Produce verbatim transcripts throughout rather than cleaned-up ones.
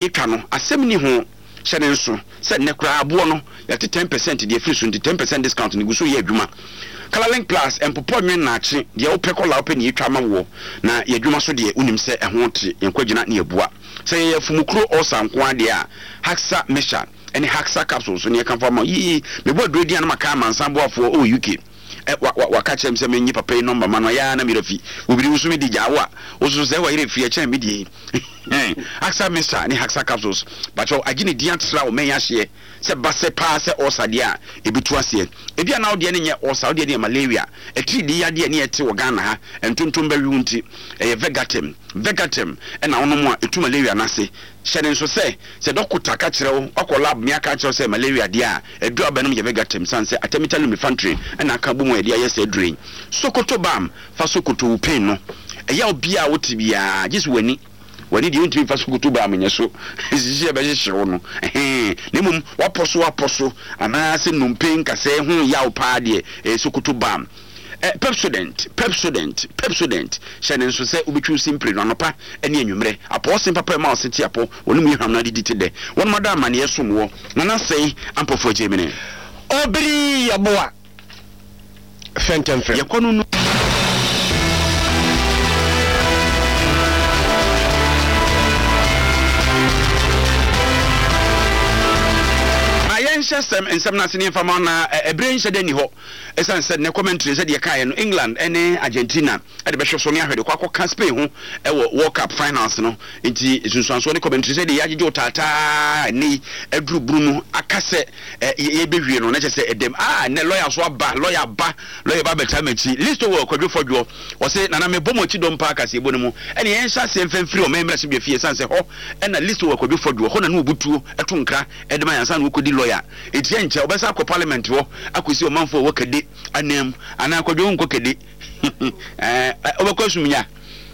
Yɛtwa no, asɛm nni ho. Hyɛ no nso sɛ nnɛ koraa aboɔ no, yɛate ten percent de afiri so nti ten percent discount no gu so reyɛ adwuma. Colourlink Plus, ɛmpopɔ nwen nnaakye, deɛ wopɛ kɔla a wopɛ na yɛtwa ama woɔ. Na yɛn adwuma so deɛ, wonim sɛ ɛho te, yɛn kwagyina ne yɛabua. Sɛ yɛyɛ afumukuro ulcer nko ara deɛ a, Haxa Mixture ne Haxa Capsules ne yɛkamfo ama wo. Yii, mebɔ aduro din a na maka amansan boafoɔ wɔ U K. Ɛ, wa, wa, waka kyerɛ me sɛ mennye papa yi nɔmba ma no, ɛyɛ ara na me werɛ afi. Obiri, wo nso medi gyaa wo a, wo nso sɛ w'ayerɛ firi ɛkyɛn me deɛ yi. Haxa Mixture ne Haxa Capsules, pakyɛw, agye ne din atra wo mmɛn ahyeɛ sɛ ba sɛ paa sɛ ulcer deɛ a, ɛbɛtu aseɛ. Ebia na wo deɛ no nyɛ ulcer, wo deɛ no yɛ malaria, atiridii yadeɛ ne ɛte wɔ Ghana ha, ntontom bɛwe wo nti, ɛyɛ Vegatem. Vegatem na wonom a, ɛtu malaria no ase. Hyɛ no nso sɛ, sɛ dɔkota ka kyerɛ wo, wakɔ lab ne aka akyerɛ wo sɛ malaria deɛ a, aduru a wobɛnom yɛ Vegatem sane sɛ artemether lumefantrine na aka abom a yɛde ayɛ saa aduro yi. Sokoto Balm, fa sokoto wo pain no. Ɛyaw biara a wote biara, gye sɛ w'ani. W'ani deɛ wontumi mfa Sokoto Balm nyɛ so, hyehye a ɛbɛhyehye wo no, ɛhɛn. Na mmom w'apɔ so apɔ so anaasɛ nnompe nkasɛɛ ho yaw paa deɛ, ɛyɛ Sokoto Balm. Ɛ, Pepsodent, Pepsodent, Pepsodent, hyɛ no nso sɛ wobɛtwi wo se mprenu, anɔpa ne anwummerɛ. Apɔw se papa a ɛma wo se te apɔ, wɔn mu yɛ hwam na adidi te dɛ. Wɔnom ada amanneɛ som woɔ. Nana Sɛe Ampɔfoɔ Gyemene. Obiri Yeboah Fɛntɛmfrɛm. Yɛkɔ no no. Ma yɛnhyɛ sɛm nsɛm no ase ne yɛmfa ma wo na ɛberɛ nhyɛ da nni hɔ. Esiane sɛ nnɛ commentary sɛdeɛ yɛkaeɛ no England ne Argentina de bɛhwɛ so ne ahwɛ de kɔ akɔka Spain ho wɔ World Cup finals no nti nsunsuansoɔ ne commentary sɛdeɛ yɛagyegye wo taataa ɛnnɛ yi aduru bunu mu aka sɛ yɛbɛwie no na kyerɛ sɛ ɛdɛm ah nnɛ lawyer so aba lawyer aba lawyer ba abɛtaa m'akyi Listowel Kwadwo Fɔdwoɔ ɔse nana mebɔ mo akyi dɔm paa kaseɛbɔ no mu ɛne yɛnhyɛ aseɛ mfa mfiri ɔman mmarahyɛbadwa fie ɛsiane sɛ hɔ ɛna Listowel Kwadwo Fɔdwoɔ hɔ na ne ɔbutuo ɛto nkra ɛde ma yɛn ansa na wɔkɔdi lawyer Enti ɛnkyɛ wobɛsan akɔ parliament hɔ akɔsi ɔmanfoɔ a ɛwɔ Kade ananmu anaa Kwadwo wonkɔ Kade ɛɛ wobɛkɔ Asumnya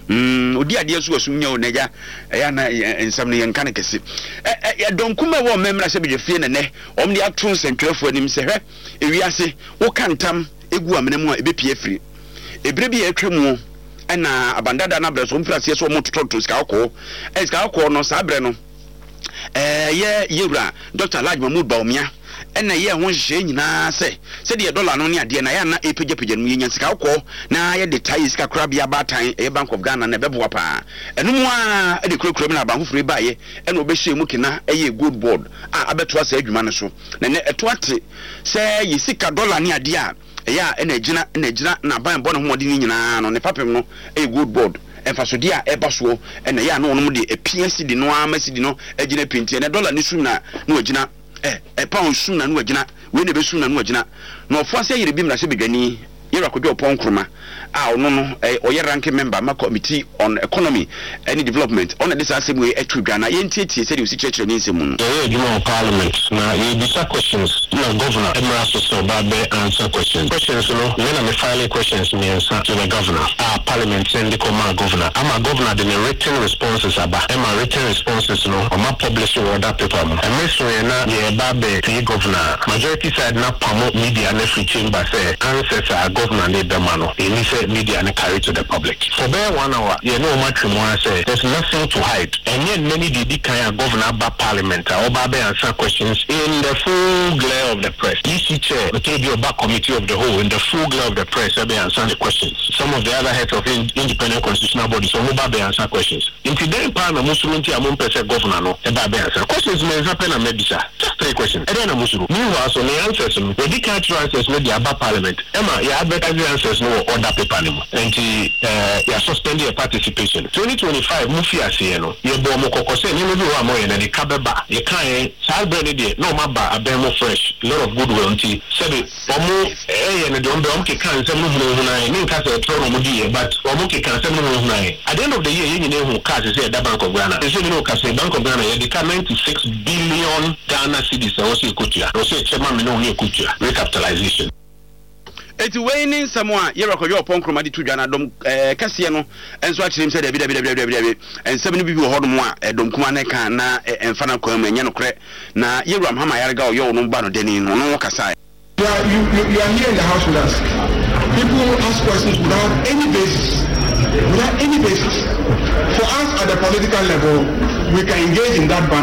mm odi adeɛ so wɔ Asumnya o n'agya ɛyɛ ana nsɛm no yɛnka no kɛse ɛ ɛ ɛdɔm kuma ɛwɔ ɔman mmarahyɛbadwa fie na nɛ wɔn de ato nsɛntwerɛfoɔ anim sɛ hwɛ ewiase woka ntam egu amena mu a ebepie afiri ebere bi a atwa mu ɛna abandada no abrɛ so wɔn firi aseɛ sɛ wɔn totɔtotɔ sika kɔkɔɔ ɛ sika kɔkɔɔ no saa berɛ no Ɛyɛ Yɛwura Dɔkta Alhaji Mahmood Bawumia na ɛyɛɛ ho nhyehyɛeɛ nyinaa sɛ sɛdeɛ dɔla no ne adeɛ no ayɛ a na ɛrepagyapagya no mu, yɛnya sika kɔkɔɔ na yɛde taa yɛn sika korabea baatan, ɛyɛ Bank of Ghana no, ɛbɛboa pa ara. Ɛno mu ara de kurakura mu na aban foforɔ yi baeɛ na wɔbɛhyɛɛ mu kena yɛɛ Gold Board a abɛtoa saa adwuma no so. Na ɛnnɛ ɛto ate sɛ yɛn sika dɔla ne adeɛ a ɛyɛ a ɛna agyina na agyina na aban bɔ ne ho mmɔden no nyinaa no, ne fapem no yɛ Gold Board. Mfasodeɛ a ɛba soɔ na ɛyɛ a na wɔnom de apia cedi no ara ma cedi no agyina pintinn. Ɛnɛ dɔla no sum na na wagyina, ɛ, ɛ, pound sum na na wagyina, wei na ɛbɛsum na na wagyina. Na ɔfoa sɛ yere bi mmarahyɛbadwani, Yɛwura Kojo Oppong Nkrumah a ɔno no, ɛ, ɔyɛ ranking member ma Committee on Economy ne Development, ɔno na ɛde saa asɛm wei to dwa. Na yɛntietie sɛdeɛ ɔsi kyerɛkyerɛ ne nsɛm mu no. Yɛyɛ adwuma wɔ parliament na yɛrebisa questions na governor mmra so sɛ ɔba abɛ answer questions. Questions no, me na me file questions mmiɛnsa to the governor a parliament send kɔ maa governor ama governor de ne written responses aba ɛma written responses no ɔma publish wɔ order paper mu. Ɛmere soeɛ na yɛreba abɛ tie governor a, majority side no apamo media no afiri chamber sɛ answers a governor no rebɛma no ɛnni sɛ media no carry to the public. For bɛyɛ one hour yɛne wɔn atwe mu ara sɛ there's nothing to hide. Ɛnyɛ nnɛ ne deɛ ɛdi kan a governor aba parliament a ɔba abɛ answer questions in the full glare of the press. E C chair ɔtɛ bi ɔba committee of the whole in the full glare of the press ɛbɛ answer the questions. Some of the other heads of independent constitutional bodies wɔn ba bɛ answer questions. Nti dɛn paa na mosuro nti a mompɛ sɛ governor no ɛba abɛ answer questions? Mmiɛnsa pɛ na mɛbisa, just three questions. Ɛdɛn na mosuro? Meanwhile so ne answers no wɔdi kan atwerɛ answers no de aba parliament ɛma yɛ advertise answers no wɔ order paper no mu. Nti ɛɛ yɛ suspend yɛ participation. twenty twenty-five mu fi aseɛ no, yɛbɔ ɔmo kɔkɔ sɛ nneɛma bi wɔ hɔ a moyɛ no de ka bɛba. Yɛka yɛn saa berɛ no deɛ na ɔmo aba abɛn mu fresh, lot of goodwill, nti sɛbi ɔmo ɛyɛ no deɛ ɔmo bɛ ɔmo keka nsɛm no hunahuna yɛn ne nka sɛ ɛtorɔ na ɔmo di yɛ, but ɔmo keka nsɛm no hunahuna yɛn. At the end of the year, yɛn nyinaa ehu cars sɛ ɛda Bank of Ghana. Ɛsɛ mi ne o ka sɛ Bank of Ghana yɛde ka ninety six billion Ghana cedis a wɔsɛ ekotua na wɔsɛ ɛkyɛ ma mi ne wɔn ekotua recapitalization. Eti wei ne nsɛm a Yɛwura Kwadwo Oppong Nkrumah de to dwa na dɔm ɛɛ kɛseɛ no nso akyerɛ mu sɛ dabi, dabi, dabi, dabi, dabi, nsɛm no bi wɔ hɔnom a ɛdɔm kumaa no ka na ɛmfa no kwan mu, ɛnyɛ nokorɛ. Na Yɛwura Mahama Ayariga ɔyɛ ɔno ba no dani no, ɔno kasaeɛ. You are, you, you, you are here in the house with us. People ask questions without any basis. Without any basis. For us at the political level, we can engage in that banter.